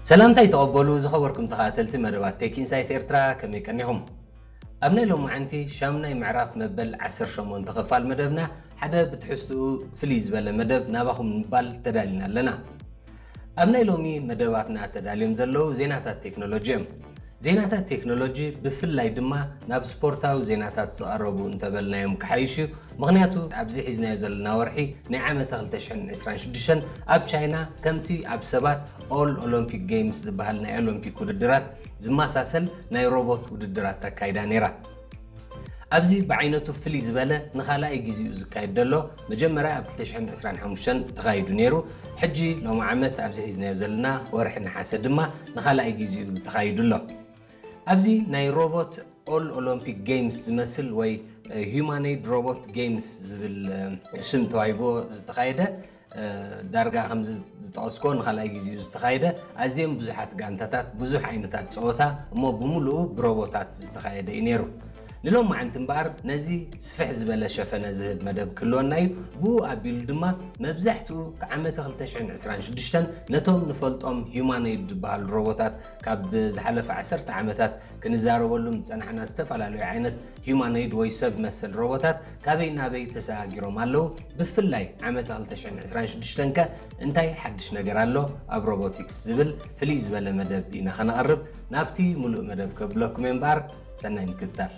ሰላምታይ ተቐበሉ ዝኸበርኩም ተኸታተልቲ መደባት ቴክ ኢንሳይት ኤርትራ፣ ከመይ ቀኒኹም? ኣብ ናይ ሎማዓንቲ ሻምናይ ምዕራፍ መበል ዓሰርተ ሸሞንተ ክፋል መደብና ሓደ ብትሕዝትኡ ፍልይ ዝበለ መደብ ናባኹም ንምባል ተዳሊና ኣለና። ኣብ ናይ ሎሚ መደባትና ተዳልዮም ዘለዉ ዜናታት ቴክኖሎጂ እዮም። ዜናታት ቴክኖሎጂ ብፍላይ ድማ ናብ ስፖርታዊ ዜናታት ዝቐረቡ እንተበልናዮም ክሓይሽ እዩ። ምኽንያቱ ኣብዚ ሒዝናዮ ዘለና ወርሒ ናይ ዓመተ ክልተ ሽሕን ዕስራን ሽዱሽተን ኣብ ቻይና ከምቲ ኣብ ሰባት ኦል ኦሎምፒክ ጌምስ ዝበሃል ናይ ኦሎምፒክ ውድድራት ዝመሳሰል ናይ ሮቦት ውድድራት ተካይዳ ነይራ። ኣብዚ ብዓይነቱ ፍልይ ዝበለ ንኻልኣይ ግዜኡ ዝካየድ ዘሎ መጀመርያ ኣብ ክልተ ሽሕን ዕስራን ሓሙሽተን ተኻይዱ ነይሩ። ሕጂ ሎሚ ዓመት ኣብዚ ሒዝናዮ ዘለና ወርሒ ነሓሰ ድማ ንኻልኣይ ግዜኡ ተኻይዱ ኣሎ። ኣብዚ ናይ ሮቦት ኦል ኦሎምፒክ ጌምስ ዝመስል ወይ ሂዩማኖይድ ሮቦት ጌምስ ዝብል ሽም ተዋሂቦ ዝተኻየደ ዳርጋ ከምዚ ዝጠቐስኮ ንኻልኣይ ግዜኡ ዝተኻየደ ኣዝዮም ብዙሓት ጋንታታት ብዙሕ ዓይነታት ፀወታ እሞ ብምሉኡ ብሮቦታት ዝተኻየደ እዩ ነይሩ። ንሎማዓንቲ እምበኣር ነዚ ስፍሕ ዝበለ ሸፈነ ዝህብ መደብ ክህልወና እዩ። ብኡ ኣቢሉ ድማ መብዛሕትኡ ዓመተ ክልተ ሽሕን ዕስራን ሽዱሽተን ነቶም ንፈልጦም ሂዩማኖይድ ዝበሃሉ ሮቦታት ካብ ዝሓለፈ ዓሰርተ ዓመታት ክንዛረበሉም ዝጸናሕና ዝተፈላለዩ ዓይነት ሂዩማኖይድ ወይ ሰብ መሰል ሮቦታት ካበይ ናበይ ተሰጋጊሮም ኣለዉ፣ ብፍላይ ዓመተ ክልተ ሽሕን ዕስራን ሽዱሽተን ከ እንታይ ሓድሽ ነገር ኣሎ ኣብ ሮቦቲክስ ዝብል ፍልይ ዝበለ መደብ ኢና ከነቕርብ። ናብቲ ሙሉእ መደብ ከብለኩም እየ እምበኣር ሰናይ ምክትታል።